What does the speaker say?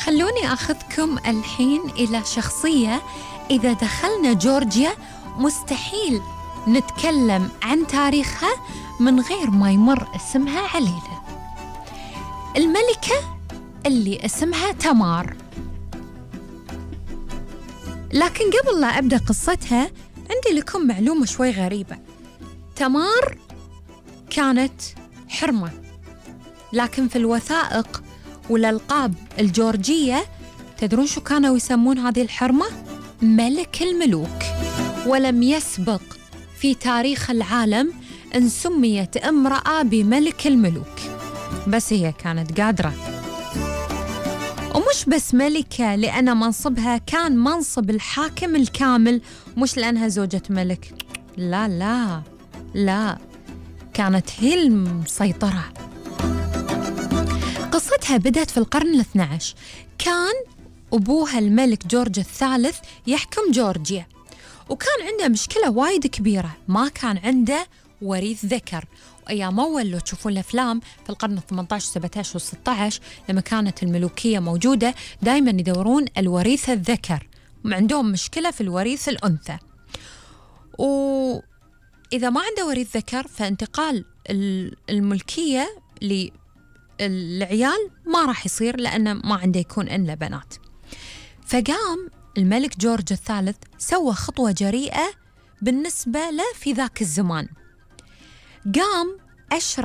خلوني أخذكم الحين إلى شخصية إذا دخلنا جورجيا مستحيل نتكلم عن تاريخها من غير ما يمر اسمها علينا. الملكة اللي اسمها تمار. لكن قبل لا أبدأ قصتها عندي لكم معلومة شوي غريبة. تمار كانت حرمة، لكن في الوثائق والألقاب الجورجية تدرون شو كانوا يسمون هذه الحرمة؟ ملك الملوك. ولم يسبق في تاريخ العالم أن سميت امرأة بملك الملوك، بس هي كانت قادرة. ومش بس ملكة لأن منصبها كان منصب الحاكم الكامل، مش لأنها زوجة ملك، لا لا لا، كانت هي المسيطرة. قصتها بدأت في القرن ال12. كان أبوها الملك جورج الثالث يحكم جورجيا، وكان عنده مشكلة وايد كبيرة، ما كان عنده وريث ذكر. وأيام أول لو تشوفون الأفلام في القرن ال18 17 و16 لما كانت الملوكية موجودة دايما يدورون الوريث الذكر، عندهم مشكلة في الوريث الأنثى. وإذا ما عنده وريث ذكر فانتقال الملكية للعيال ما راح يصير، لأنه ما عنده يكون إلا بنات. فقام الملك جورج الثالث سوى خطوة جريئة بالنسبة له في ذاك الزمان. قام أشرف